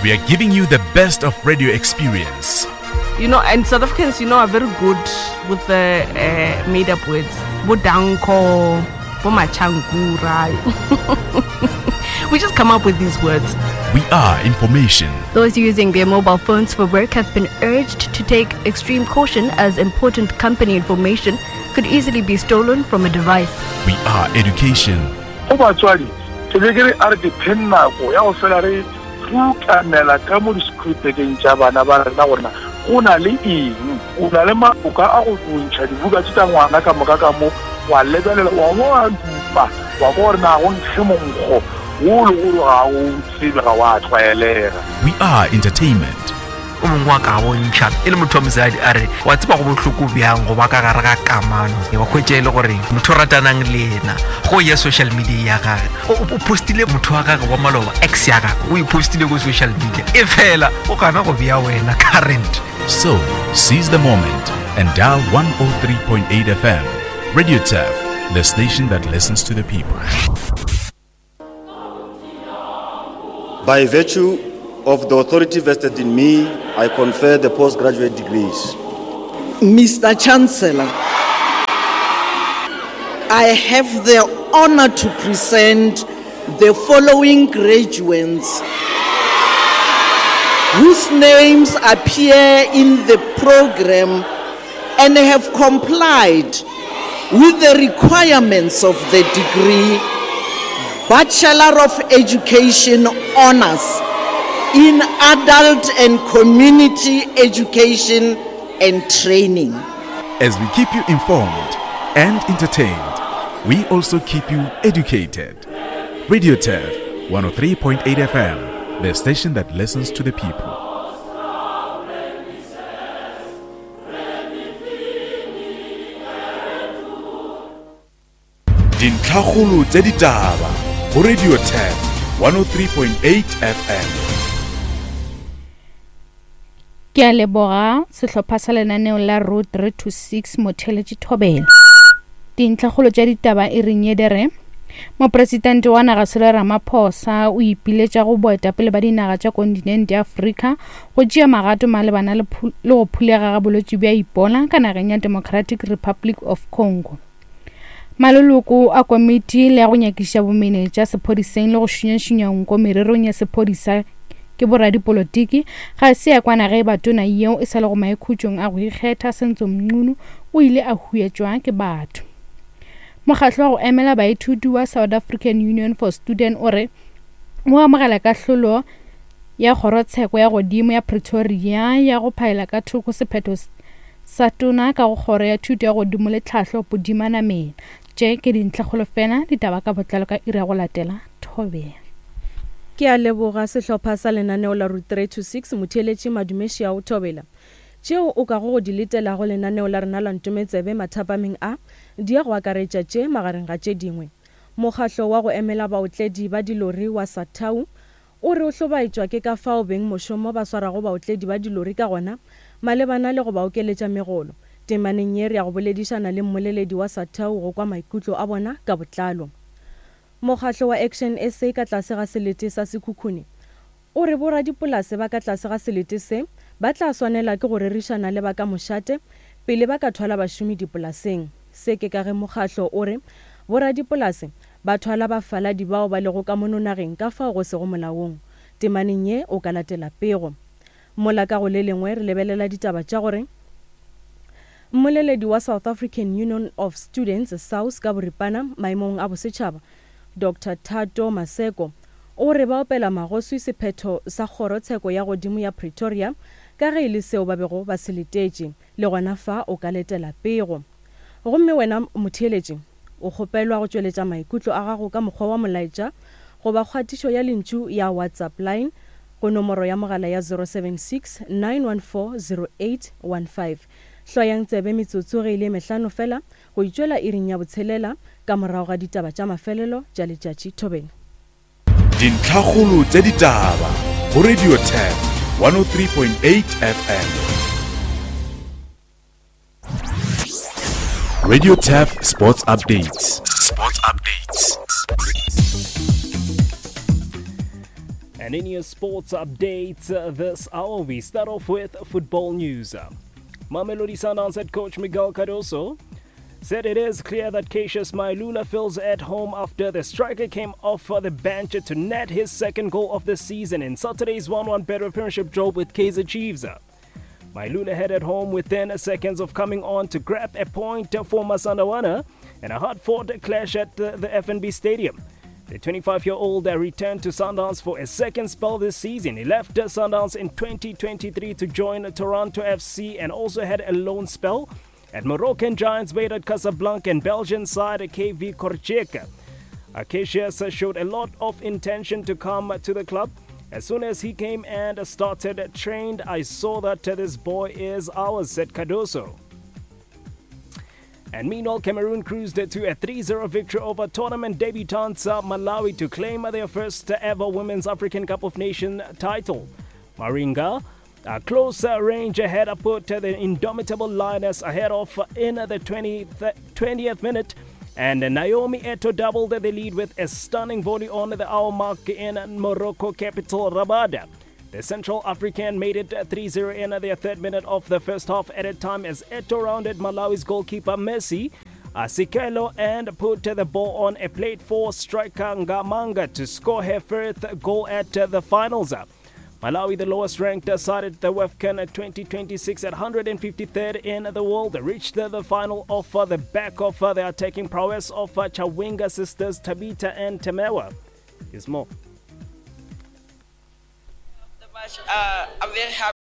We are giving you the best of radio experience. You know, and South Africans, you know, are very good with the uh, made up words. Bodanko, Bomachankura. we just come up with these words. We are information. Those using their mobile phones for work have been urged to take extreme caution as important company information could easily be stolen from a device. We are education. Go batswadi, ke be ke re a re ke pheng nako ya go fela re rukanela ka mo di-schoolbageng tša bana ba rena gore na go na le eng. O na le maboka a go ntšha dibuka tše tša ngwana ka moka ka mo, wa lebelela, wa bo wa dupa, wa kwa gore na go nkge monkgo wo le gore ga o tsebe, ga wa tlwaelega. We are entertainment. O mongwe wa ka bontšha e le motho wa mosadi a re wa tseba go bohloko bjang go ba ka gare ga kamano wa hwetša e le gore motho o ratanang le yena go ya social media ya gage o postile motho wa gage wa maloba ex ya gage o e postile ko social media e fela o gana go bea wena current. So, seize the moment and dial 103.8 FM. Radio Turf, the station that listens to the people. By virtue of the authority vested in me, I confer the postgraduate degrees. Mr. Chancellor, I have the honor to present the following graduates whose names appear in the program and have complied with the requirements of the degree Bachelor of Education Honors in Adult and Community Education and Training. As we keep you informed and entertained, we also keep you educated. Radio Turf 103.8 FM, the station that listens to the people. Dintlhakgolo tša ditaba go Radio Turf 103.8 FM. Ke a leboga sehlopha sa lenaneo la Road 3 to 6 Motheletši Thobela. Dintlhakgolo tša ditaba e reng ye di re Mopresidente wa naga Cyril Ramaphosa o ipiletša go boetapele ba dinaga tša kontinente ya Afrika go tšea magato malebana le go phulega ga bolwetši bja Ebola ka nageng ya Democratic Republic of Congo. Maloloko a komiti le ya go nyakiša bomenetša sephodiseng le go šunyašunya nko mererong ya sephodisa ke boradipolotiki ga se ya kwana ge eba tona yeo e sa lego maikhutšong a go ikgetha Senzo Mchunu o ile a huetšwa ke batho. Mokgatlo wa go emela baithuti wa South African Union for Student o re o amogela kahlolo ya kgorotsheko ya godimo ya Pretoria ya go phaela ka thoko sephetho sa tona ka go kgoro ya thuto ya godimo le tlhahlo Pudima Namela. Tše ke dintlhakgolo fela, ditaba ka botlalo ka iri ya go latela. Thobela. Ke a leboga sehlopha sa lenaneo la Route 3 to 6, Motheeletši Madume Šiao Thobela. Tšeo o kago go di letela go lenaneo la rena la Ntometsebe mathapameng a, di ya go akaretša tše magareng ga tše dingwe. Mokgahlo wa go emela baotledi ba dilori wa SATAWU o re o hlobaetšwa ke ka fao bengmošomo ba swarago baotledi ba dilori ka gona malebana le go ba okeletša megolo. Temaneng ye re ya go boledišana le mmoleledi wa SATAWU go kwa maikutlo a bona ka botlalo. Mokgahlo wa Action SA ka tlase ga selete sa Sekhukhune O re boradipolase ba ka tlase ga selete se ba tla swanela ke go rerišana le ba ka mošate pele ba ka thwala bašomi dipolaseng. Se ke ka ge mokgahlo o re boradipolase ba thwala bafaladi bao ba lego ka mono nageng ka fao go sego molaong. Temaneng ye o ka latela pego. Mola ka go le lengwe re lebelela ditaba tša gore Mmoleledi wa South African Union of Students, SAUS, ka boripana maemong a bosetšhaba, Doctor Thato Maseko, o re ba opela magoswi sephetho sa Kgoro Tsheko ya Godimo ya Pretoria ka ge e le seo ba bego ba se letetše. Le gona fa o ka letela pego. Gomme wena motheeletši, o kgopelwa go tšweletša maikutlo a gago ka mokgwa wa molaetša goba kgatišo ya lentšu ya WhatsApp line go nomoro ya mogala ya 076 914 0815. Hlwayang tsebe metsotso ge e le mehlano fela go itšwela iring ya botshelela ka morago ga ditaba tša mafelelo tša letšatši thobeng. Dintlhakgolo tša ditaba go Radio Turf 103.8 FM. Radio Turf Sports Updates. Sports Updates. And in your sports updates this hour, we start off with football news. Mamelodi Sundowns head coach Miguel Cardoso said it is clear that Cassius Mailula feels at home after the striker came off the bench to net his second goal of the season in Saturday's 1-1 Betway Premiership draw with Kaizer Chiefs. Mailula headed home within seconds of coming on to grab a point for Masandawana in a hard-fought clash at the FNB Stadium. The 25-year-old returned to Sundowns for a second spell this season. He left Sundowns in 2023 to join Toronto FC and also had a loan spell at Moroccan giants Wydad Casablanca and Belgian side KV Kortrijk. Cassius showed a lot of intention to come to the club. As soon as he came and started trained, I saw that this boy is ours, said Cardoso. And meanwhile, Cameroon cruised to a 3-0 victory over tournament debutants Malawi to claim their first ever Women's African Cup of Nations title. Maringa, a close range ahead, put the indomitable Lioness ahead of in the 20th minute. And Naomi Eto doubled the lead with a stunning volley on the hour mark in Morocco capital Rabat. The Central African made it 3-0 in their third minute of the first half added time as Eto rounded Malawi's goalkeeper Messi Sikelo and put the ball on a plate for striker Ngamanga to score her first goal at the finals. Malawi, the lowest ranked side at the WAFCON 2026 at 153rd in the world, reached the final off the back of the attacking prowess of Chawinga sisters Tabita and Temewa. Here's more. I'm very happy.